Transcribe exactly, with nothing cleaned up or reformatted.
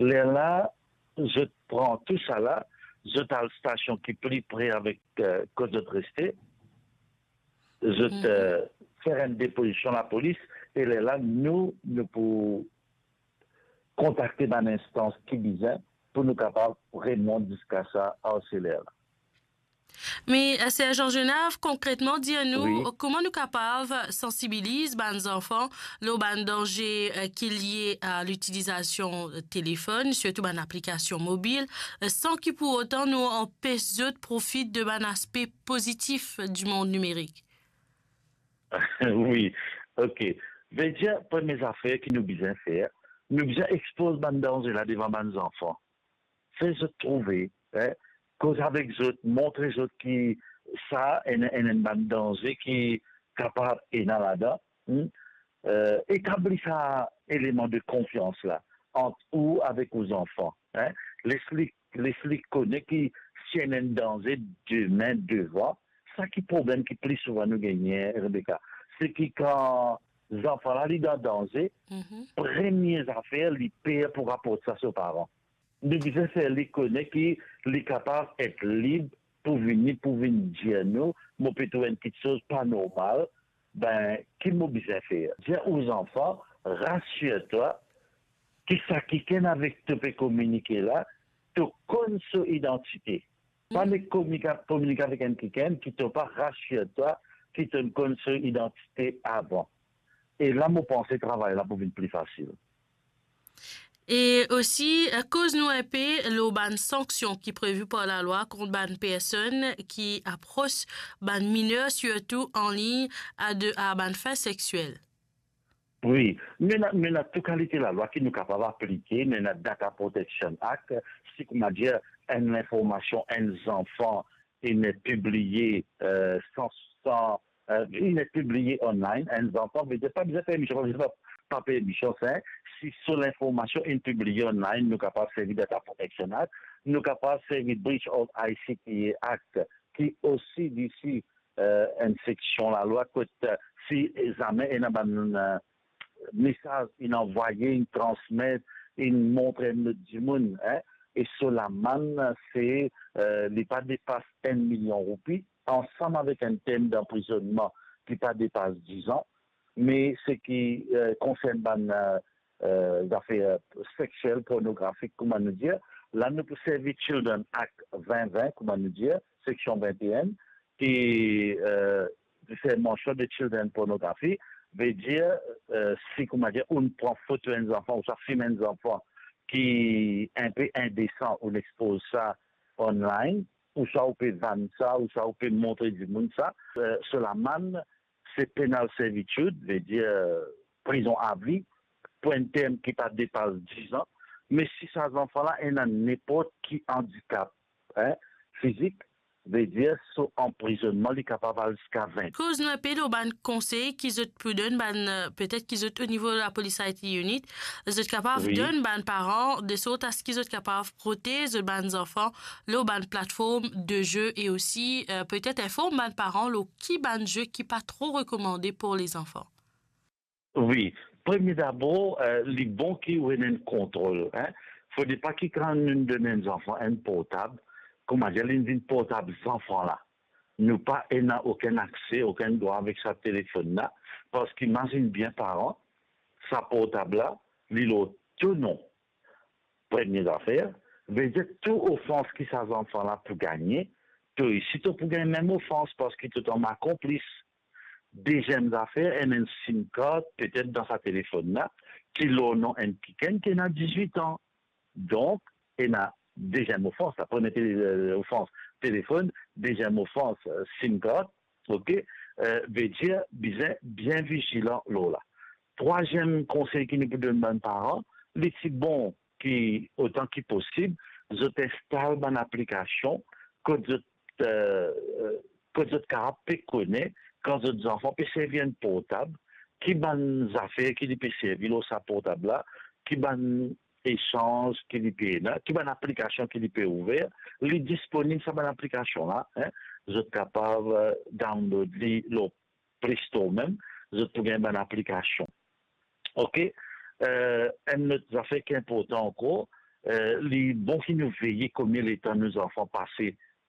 Lerla, zot pran tou sa la, zot al stasion ki pli pre avek, eh, kot zot reste, zot, Mhm. eh, fer enn depozision lapolis, e lerla nou, nou pou kontakte bann instans ki bizin pou nou kapav remont ziska sa arseler la. Me, eh, Sergent Genav, konkretman, dir nou, Wi. kouma nou kapav sansibiliz bann zanfan lor bann danze, eh, ki lie a litilizasion telefonn, sirtou bann aplikasion mobil, eh, san ki pou otan nou anpes zot profit de bann aspe pozitif di mond nimerik? Wi, ok. Vedir, premie zafer ki nou bizin fer, nou bizin expoz bann danze la devan bann zanfan. Fer zot trouve, eh, koz avek zot, montre zot ki sa enn, enn, enn bann danze ki kapav ena ladan, hmm? Eh, etabli sa eleman de konfians la ant ou avek ou zanfan, eh? Les li, les li kone ki si ena enn danze demin devan, sa ki problem ki pli souvan nou gagne, Rebecca, se ki kan zanfan la li dan danze, Mhm. premie zafer li per pou raport sa so paran. Nou bizin fer li kone ki li kapav et lib pou vini, pou vinn dir nou, mo pe trouv enn kiksoz pa normal, ben, ki mo bizin fer? Dir ou zanfan, rasir twa, ki sa kikenn avek to pe kominike la, to konn so idantite. Pa nek kominike, kominike avek enn kikenn ki to pa rasir twa, ki to konn so idantite avan. E la, mo panse travay la pou vinn pli fasil. E osi, eh, koz nou enpe lor bann sanksion ki previ par lalwa kont bann personn ki apros bann miner, sirtou an lign, a de, a bann fin seksiel. Wi, nou ena, nou ena tou kalite lalwa ki nou kapav aplike, nou ena Data Protection Act, si kouma dir, enn linformasion enn zanfan inn pibliye, eh, san, san, eh, inn pibliye online, enn zanfan, vedir pa bizin permision, pa bizin pa, pa permision, sa, si so linformasion inn pibliye online, nou kapav servi Data Protection Act, nou kapav servi Breach of I C T A Act, ki osi li osi, eh, enn seksion lalwa kot, eh, si zame ena bann, eh, mesaz inn anvwaye, inn transmet, inn montre enn lot dimoun, eh, e so lamann se, eh, li pa depas enn milion roupi, ansam avek enn pena danprizonnman ki pa depas diz an, me seki, eh, konsern bann, eh, eh, zafer seksiel, pornografik, kouma nou dir, la nou pou servi Children Act vin vin, kouma nou dir, seksion vin e enn, ki, eh, fer mansion de children pornography, vedir, eh, si, kouma dir, ou pran foto enn zanfan, ouswa film enn zanfan ki enpe indesan, ou expoz sa online, ouswa ou pe vann sa, ouswa ou pe montre dimoun sa, eh, so lamann, se penal servitude, vedir, eh, prizon avi, pou enn term ki pa depas diz an. Me si sa zanfan la ena ninport ki andikap, eh, fizik, vedir so anprizonnman li kapav al ziska vin. Koz nou enpe lor bann konsey ki zot pou donn bann, eh, petet ki zot o nivo Lapolis I T Unit, zot kapav Wi. donn bann paran de sort a se ki zot kapav protez zot bann zanfan lor bann platform de ze e osi, eh, petet inform bann paran lor ki bann ze ki pa tro rekomande pou lezanfan. Wi, premie dabor, eh, li bon ki ou ena enn kontrol, eh. Fode pa ki kan nou donn enn zanfan enn portab, kouma dir, li vinn portab zanfan la. Nou pa ena okenn akse, okenn drwa avek sa telefonn la, parski imazinn bien paran, sa portab la, li lor to non. Premie zafer, vedir tou ofans ki sa zanfan la pou gagne, to osi to pou gagn mem ofans parski to tann akonplis. Deziem zafer, enn, enn sim kart, petet dan sa telefonn la, ki lor non enn kikenn ki ena dizwit an. Donk, ena deziem ofans, la premie tele-, eh, ofans, telefonn, deziem ofans, eh, sim kart, ok, eh, vedir bizin bien vizilan lor la. Trwaziem konsey ki nou pou donn bann paran, li ti bon ki, otan ki posib, zot instal bann aplikasion kot zot, eh, kot zot kapav pe kone kan zot zanfan pe servi enn portab, ki bann zafer ki li pe servi lor sa portab la, ki bann esanz ki li pe ena, ki bann aplikasion ki li pe ouver, li disponib sa bann aplikasion la, eh, zot kapav, eh, download li lor Play Store mem, zot pou gagn bann aplikasion. Ok? Eh, enn lot zafer ki inportan ankor, Eh, li bon ki nou veye konbien letan nou zanfan pase